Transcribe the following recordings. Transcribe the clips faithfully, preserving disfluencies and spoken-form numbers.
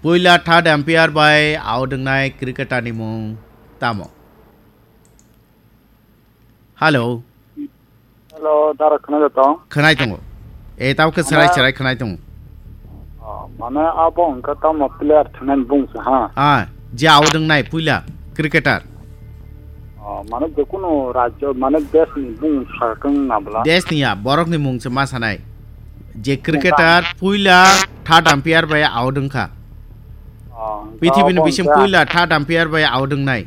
Puila third umpire bai out wngnai cricketer ni mung tamo? Hello. Hello, dara khwnai tong? Khwnai tongo. E, tamo khe serai serai khwnai tongo. Oh, mane abo wngkha tamo player thwngnani bung se ha? Ah, je out wngnai puila cricketer. Oh, mane je kunu rajyo, mane desh ni bung sakang nabla. Desh ni ya, borok ni mung se ma sanai. Je cricketer puila third umpire bai out wngkha. Oh, pithibini bising puila third umpire bai out wngnai.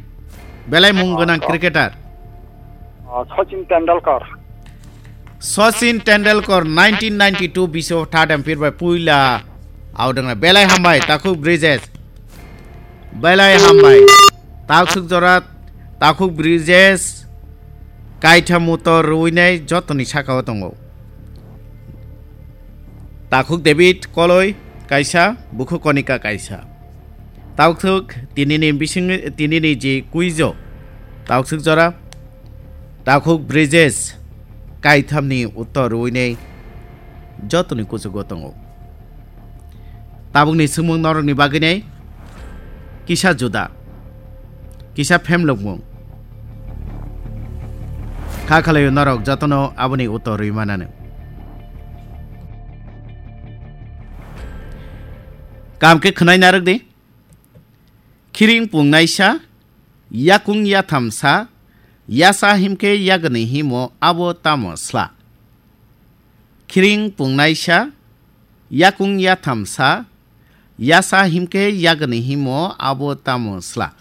Belai mung gwnang cricketer. Oh, Sachin Tendulkar. Sachin Tendulkar nineteen ninety-two bising third umpire bai puila out wngnai. Belai hambai, Takhuk Bridges. Belai hambai. Taksuk jora, Takhuk Bridges. Kaitham utor rwinai jotoni sakao tongo. Takhuk David Koloi kaisa, Bukhuk Konika kaisa. Taksuk tinini bising, tinini je kuijo. Taksuk jora, Takhuk Bridges kaithamni uttor rwinai jotoni kuchugo tongo. Tabukni swngmung norokni bagwinai kisa juda, kisa phemlokmung. Kha khalaio norok jotono aboni uttor rwi manano. Kam khe khwnai narwk di. Khiring pungnaisa, yakung yathamsa, yasa himkhe yagani himo abo tamo sla. Khiring pungnaisa, yakung yathamsa, yasa himkhe yagani himo abo tamo sla.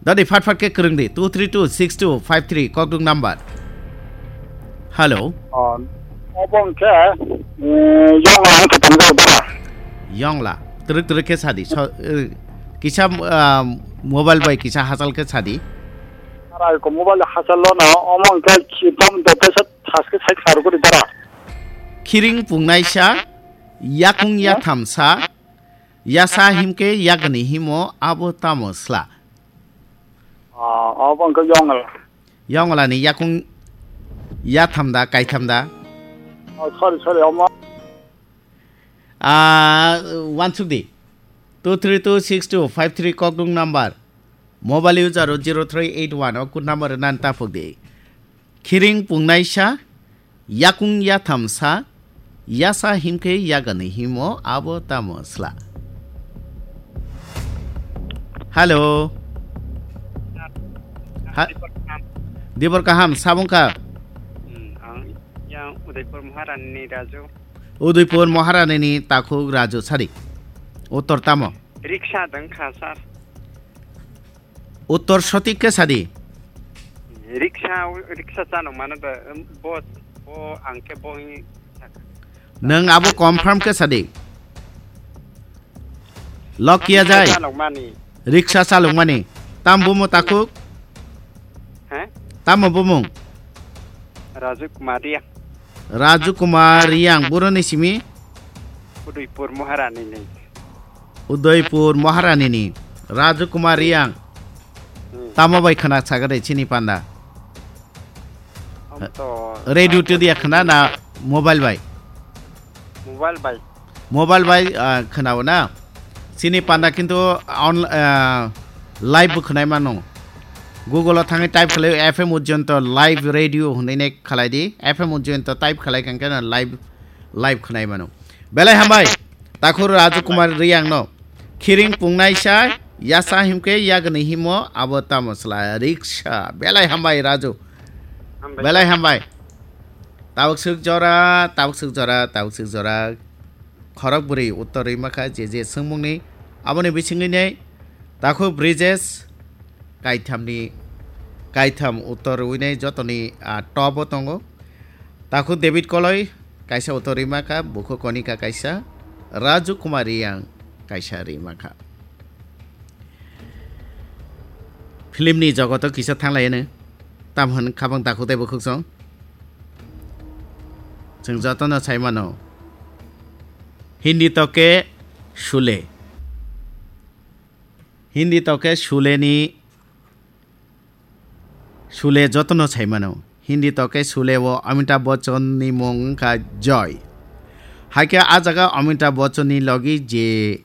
Dadi phat phat khe kwrwng di, two three two six two five three kokduk number. Hello. Oh, obo hwnkhe, eh, yongla ang khe tongjago dara. Yongla, twrwk twrwk khe sadi, so, eh, kisa, ah, mobile bai kisa hachal khe sadi. Dara ko mobile hachal lono, omo hwnkhe khipam dotaisa thaske sai kharwgwi dara. Khiring pungnaisa, yakung yathamsa, yasa himkhe yagani himo abo tamo sla. Ah, obo hwnkhe yongla. Yongla ni yakung yatham da, kaitham da? Oh, sorry, sorry, omo. Ah, wansuk di. Two three two six two five three kokdung number. Mobile user o zero three eight one o code number nan taphuk di. Khiring pungnaisa, yakung yathamsa, yasa himkhe yagani himo abo tamo sla. Hello. Ha-, Dibor kaham, sabung kha? Hmm, ang yang Udaipur Maharani ni Raju. Udaipur Maharani ni takhuk Raju sadi. Uttor tamo? Riksa dang kha, sir. Uttor sotik khe sadi. Riksa, riksa chano mano da, bo, bo ang khe bo hi. Nwng abo confirm khe sadi. Lokia jai. Riksa chalokmani. Riksa chalokmani. Tam bumo takhuk? He? Tamo bumung? Raju Kumar Riang. Raju Kumar Riang, boroni simi? Udaipur Maharani ni. Udaipur Maharani ni. Raju Kumar Riang. Hmm. Tamo bai khwna saga de chini panda? Am to radio to dia khwna na mobile bai? Mobile bai. Mobile bai, ah, khwnao na? Chini panda kintu on, ah, live bo khwnai mano. Google o thangwi type khlai F M Ujjayanto live radio hwnwi nai khlai di. F M Ujjayanto type khlai kang khe na live, live khwnai mano. Belai hambai. Takhuk Raju Kumar Riang no. Khiring pungnaisa, yasa himkhe yagni himo abo tamo sla riksa. Belai hambai Raju. Hambai. Belai hambai. Tabuk swk jora, tabuk swk jora, tabuk swk jora. Khorok bwrwi uttor rwi makha je je swngmungni. Aboni bisingwi nei takhuk Bridges kaithamni, kaitham uttor rwi nei jotoni, ah, top o tongo. Takhuk David Koloi kaisa uttor rwi makha, bukhuk Konika kaisa, Raju Kumar Riang kaisa rwi makha. Film ni jogoto kisa thanglai no. Tam hwn khabang takhuk tei bukhuk song. Chwng jotono sai mano. Hindi toke Sule. Hindi toke Sule ni, Sule jotono sai mano. Hindi toke Sule o Amitabh Bachchan ni mung wngkha Joy. Haikhe a jaga Amitabh Bachchan ni logi je